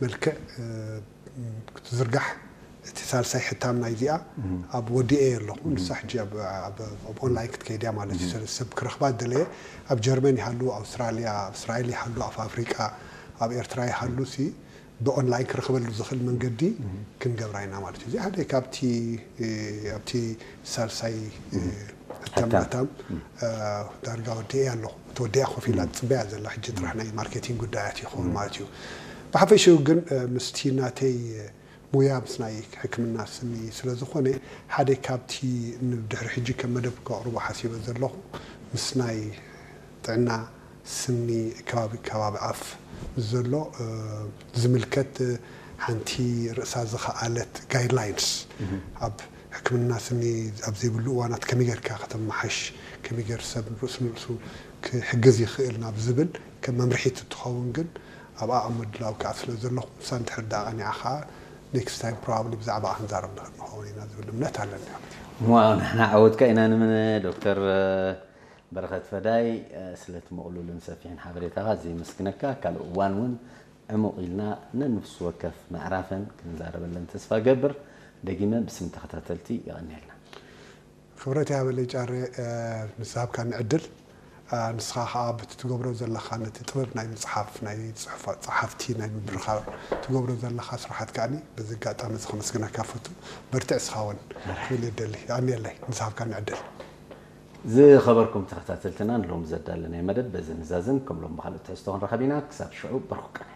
መልክዕ ክትዝርጋሕ እቲ ሳልሳይ ሕታም ናይዚኣ ኣብ ወዲኤ ኣለኹ። ንሳ ሕጂ ኣብ ኦንላይን ክትከይድ እያ ማለት እዩ። ሰብ ክረኽባ ደለየ ኣብ ጀርመን ይሃሉ፣ ኣውስትራልያ፣ ኣብ እስራኤል ይሃሉ፣ ኣብ ኣፍሪቃ፣ ኣብ ኤርትራ ይሃሉ ሲ ብኦንላይን ክረኽበሉ ዝኽእል መንገዲ ክንገብራ ኢና ማለት እዩ። እዚ ሓደ ካብቲ ኣብቲ ሳልሳይ ሕታም ሕታም። ሕታም ዳርጋ ወዲኤ ኣለኹ። ተወዲኣ ኮፍ ኢላ ትፅበያ ዘላ ሕጂ ጥራሕ ናይ ማርኬቲንግ ጉዳያት ይኸውን ማለት እዩ። ብሓፈሽኡ ግን ምስቲ ናተይ ሙያ ምስ ናይ ሕክምና ስኒ ስለ ዝኾነ ሓደ ካብቲ ንድሕሪ ሕጂ ከም መደብ ከቕርቦ ሓሲበ ዘለኹ ምስ ናይ ጥዕና ስኒ ከባቢ ከባቢ ኣፍ ምስ ዘሎ ዝምልከት ሓንቲ ርእሳ ዝኸኣለት ጋይድላይንስ ኣብ ሕክምና ስኒ ኣብ ዘይብሉ እዋናት ከመይ ጌርካ ከተመሓሽ ከመይ ጌር ሰብ ርእሱ ንርእሱ ክሕግዝ ይኽእል ናብ ዝብል ከም መምርሒት እትኸውን ግን ኣብኣ ኣብ ምድላው ከዓ ስለ ዘለኹ ንሳ እንድሕር ዳኣ ቀኒዓ ከዓ ኔክስት ታይም ፕሮባብሊ ብዛዕባ ክንዛረብ ንኽእል ንኸውን ኢና ዝብል እምነት ኣለኒ። እሞ ንሕና ዓወትካ ኢና ንምን ዶክተር በረኸት ፈዳይ ስለቲ ምቕሉልን ሰፊሕን ሓበሬታኻ እዚ የመስግነካ። ካልእ እዋን እውን ዕሙቕ ኢልና ነንፍሲ ወከፍ ምዕራፈን ክንዛረበለን ተስፋ ገብር። ደጊመ ብስም ተኸታተልቲ የቐንየልና። ክብረት ያበለይ ጫረ ንዝሃብካኒ ዕድል ንስኻ ከዓ በቲ ትገብሮ ዘለኻ ነቲ ጥበብ ናይ ምፅሓፍ ናይ ፅሑፋ- ፀሓፍቲ ናይ ምብርኻር ትገብሮ ዘለኻ ስራሓት ከዓኒ በዚ ኣጋጣሚ እዚ ከመስግነካ ፈቱ። በርትዕ እስኻ እውን ክብል ይደሊ። የቐንየለይ ንዝሃብካኒ ዕድል። ዝኸበርኩም ተኸታተልትና ንሎም ዘዳለናይ መደብ በዚ ንዛዝም። ከም ሎም ብኻልእ ትሕዝቶ ክንረኸብ ኢና። ክሳብ ሽዑ በርኩ ቀነ።